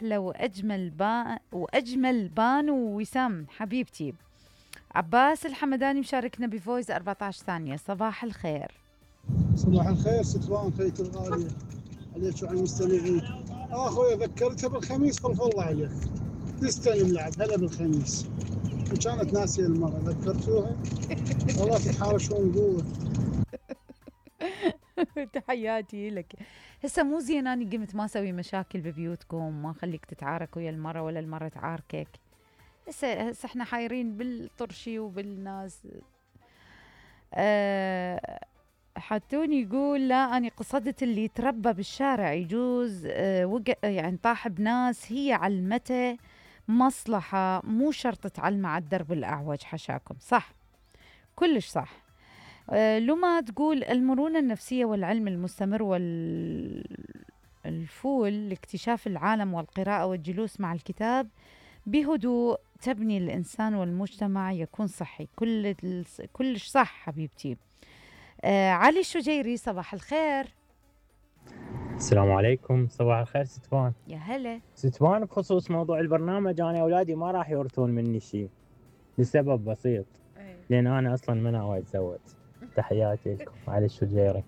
أحلى وأجمل بانو ووسام حبيبتي. عباس الحمداني مشاركنا بفويس 14 ثانية. صباح الخير. صباح الخير ستوان خيت الغالية عليك وعلى المستمعين. أخوي ذكرتها بالخميس خلف الله عليك تستلم لعب هلا بالخميس وكانت ناسية المرة ذكرتوها والله تتحارشون قوة. تحياتي لك. هسه مو زين اني قمت ما اسوي مشاكل ببيوتكم ما اخليك تتعارك ويا المرة ولا المرة تعاركك. هسه احنا حايرين بالطرشي وبالناس. حتوني يقول لا أنا قصدت اللي تربى بالشارع يجوز يعني طاح بناس هي علمته مصلحة مو شرط تعلمه على الدرب الأعوج. حشاكم صح كلش صح. لما تقول المرونة النفسية والعلم المستمر والفول لاكتشاف العالم والقراءة والجلوس مع الكتاب بهدوء تبني الإنسان والمجتمع يكون صحي. كلش صح حبيبتي. علي الشجيري صباح الخير. السلام عليكم. صباح الخير ستوان. يا هلا ستوان. بخصوص موضوع البرنامج أنا أولادي ما راح يورثون مني شيء لسبب بسيط لأن أنا أصلا ما ناوي أتزوج. تحياتي لكم. علي الشجيري.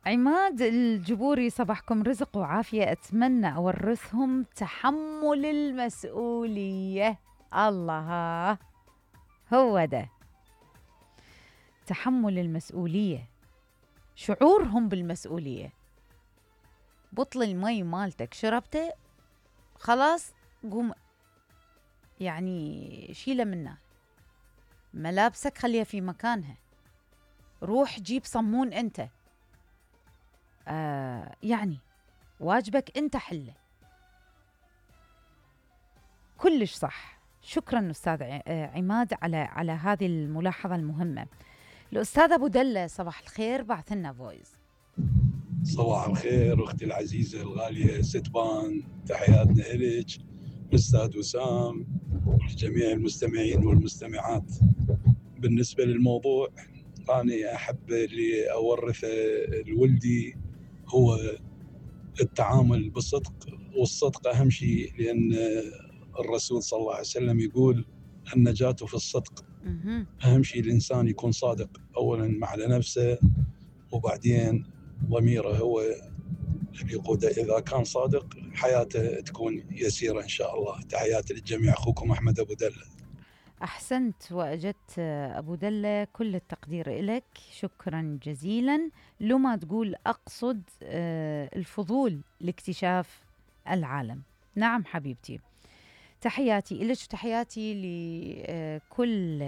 عماد الجبوري صباحكم رزق وعافية. أتمنى أورثهم تحمل المسؤولية. الله هو ده تحمل المسؤولية شعورهم بالمسؤولية. بطل المي مالتك شربته خلاص قوم يعني شيله منه. ملابسك خليها في مكانها. روح جيب صمون أنت. يعني واجبك أنت حله. كلش صح. شكرا أستاذ عماد على هذه الملاحظة المهمة. الأستاذ أبو دلة صباح الخير بعث لنا فويس. صباح الخير أختي العزيزة الغالية ستبان. تحياتنا إليك الأستاذ وسام وجميع المستمعين والمستمعات. بالنسبة للموضوع أنا أحب اللي أورثه لولدي هو التعامل بالصدق والصدق أهم شيء لأن الرسول صلى الله عليه وسلم يقول النجاة في الصدق. أهم شيء الإنسان يكون صادق أولا مع نفسه وبعدين ضميره هو اللي يقوده. إذا كان صادق حياته تكون يسيرة إن شاء الله. تحياتي للجميع. أخوكم أحمد أبو دلة. أحسنت وأجدت أبو دلة كل التقدير إلك. شكرا جزيلا. لما تقول أقصد الفضول لاكتشاف العالم. نعم حبيبتي. تحياتي إلك وتحياتي لكل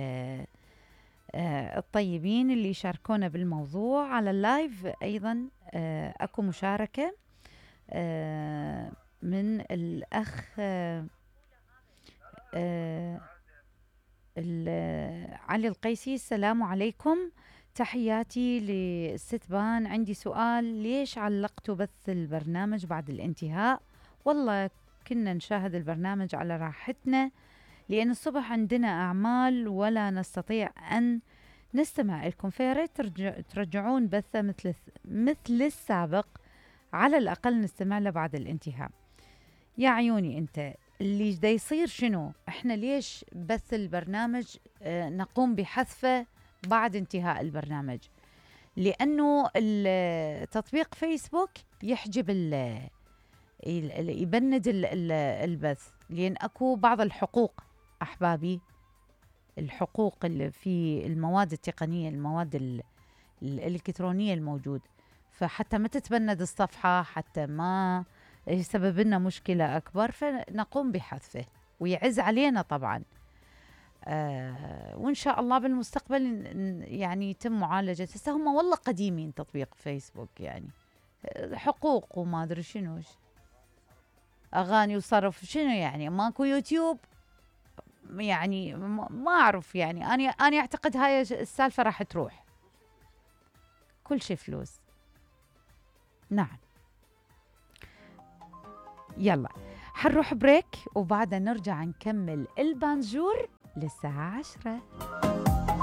الطيبين اللي يشاركونا بالموضوع على اللايف. أيضا أكو مشاركة من الأخ علي القيسي. السلام عليكم. تحياتي للستبان. عندي سؤال ليش علقتوا بث البرنامج بعد الانتهاء؟ والله كنا نشاهد البرنامج على راحتنا لأن الصبح عندنا أعمال ولا نستطيع أن نستمع لكم. فياريت ترجعون بثة مثل السابق على الأقل نستمع له بعد الانتهاء. يا عيوني أنت اللي دا يصير شنو؟ احنا ليش بث البرنامج نقوم بحذفه بعد انتهاء البرنامج؟ لأنه تطبيق فيسبوك يحجب يبند البث لأن أكو بعض الحقوق أحبابي. الحقوق اللي في المواد التقنية المواد الإلكترونية الموجود. فحتى ما تتبند الصفحة حتى ما يسبب لنا مشكلة أكبر فنقوم بحذفه ويعز علينا طبعا. وإن شاء الله بالمستقبل يعني يتم معالجة. هسه هم والله قديمين تطبيق فيسبوك يعني حقوق وما أدري شنو أغاني وصرف شنو يعني ماكو يوتيوب يعني ما أعرف يعني أنا أعتقد هاي السالفة راح تروح. كل شيء فلوس. نعم يلا حنروح بريك وبعدها نرجع نكمل البانجور للساعة 10.